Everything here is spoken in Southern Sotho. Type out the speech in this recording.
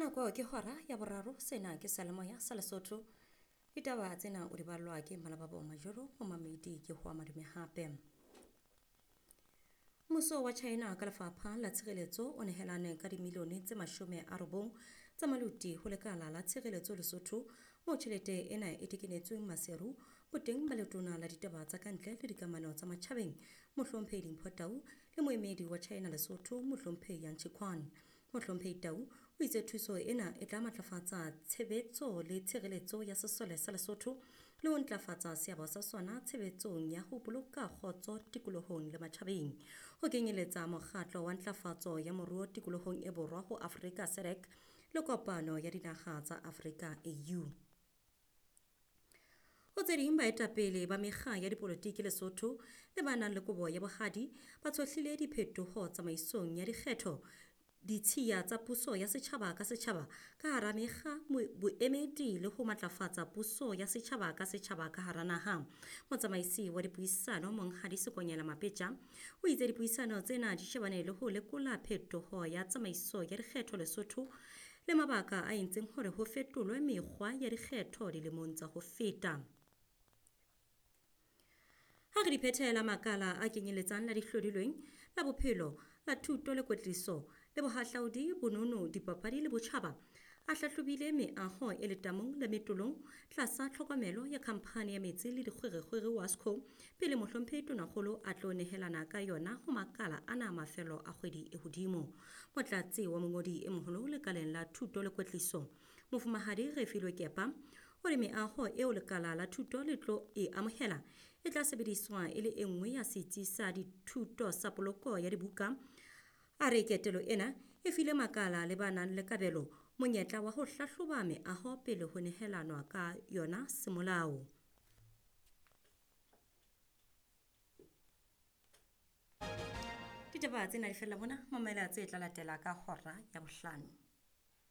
Nako ke hora ya boraro, sena ke seyalemoya sa Lesotho. Ditaba tsena o di ballwa ke Malababo Majoro, momamedi ke hoa madume hape. Mmuso wa China ka lefapha la tshireletso o nehelane ka dimilione tse 90 tsa maluti ho lekala la tshireletso Lesotho, moo tjhelete ena e tekenetsweng Maseru boteng ba letona la ditaba tsa kantle le dikamano tsa matjhabeng Mohlomphehi Dimpho Tau le moemedi wa China Lesotho Mohlomphehi Yang Chiquan. Mohlomphehi Tau o itse thuso ena e tla matlafatsa tshebetso le tshireletso ya sesole sa Lesotho le ho ntlafatsa seabo sa sona tshebetsong ya ho boloka kgotso tikolohong le matjhabeng, ho kenyeletsa mokgatlo wa ntlafatso ya moruo tikolohong e borwa ho Afrika SADC le kopano ya dinaha tsa Afrika AU. Ho tse ding, baetapele ba mekga ya dipolotiki Lesotho le ba nang le kobo ya bohadi ba tshohlile diphetoho tsamaisong ya dikgetho, ditshiya tsa puso ya setjhaba ka setjhaba ka hara mekga boemedi le ho matlafatsa puso ya setjhaba ka setjhaba ka hara naha. Motsamaisi wa dipuisano Monghadi Sekonyela Mapetja o itse dipuisano tsena di shebane le ho lekola phetoho ya tsamaiso ya dikgetho Lesotho le mabaka a entseng hore ho fetolwe mekgwa ya dikgetho dilemong tsa ho feta. Ha re di phethela, makala a kenyeletsang la dihlodilweng, la bophelo, la thuto le kwetliso, le bohahlaudi, bonono, dipapadi le botjhaba, a hlahlobile meaho e letamong le metolong tlasa tlhokomelo ya khamphani ya metsi le dikgwerekgwere Wasco pele Mohlomphehi Tonakgolo a tlo nehelana ka yona ho makala ana mafelo a kgwedi e hodimo. Motlatsi wa mongodi e moholo lekaleng la thuto le kwetliso, Mofumahadi Refilwe Kepa, o re meaho eo lekala la thuto le tlo e amohela e tla sebediswa e le e nngwe ya setsi sa dithuto sa poloko ya dibuka. A re ketelo ena e file makala le ba nang le kabelo monyetla wa ho hlahloba meaho pele ho nehelanwa ka yona semolao. Ditaba tsena di fella mona, mamela tse tla latela ka hora ya bohlano.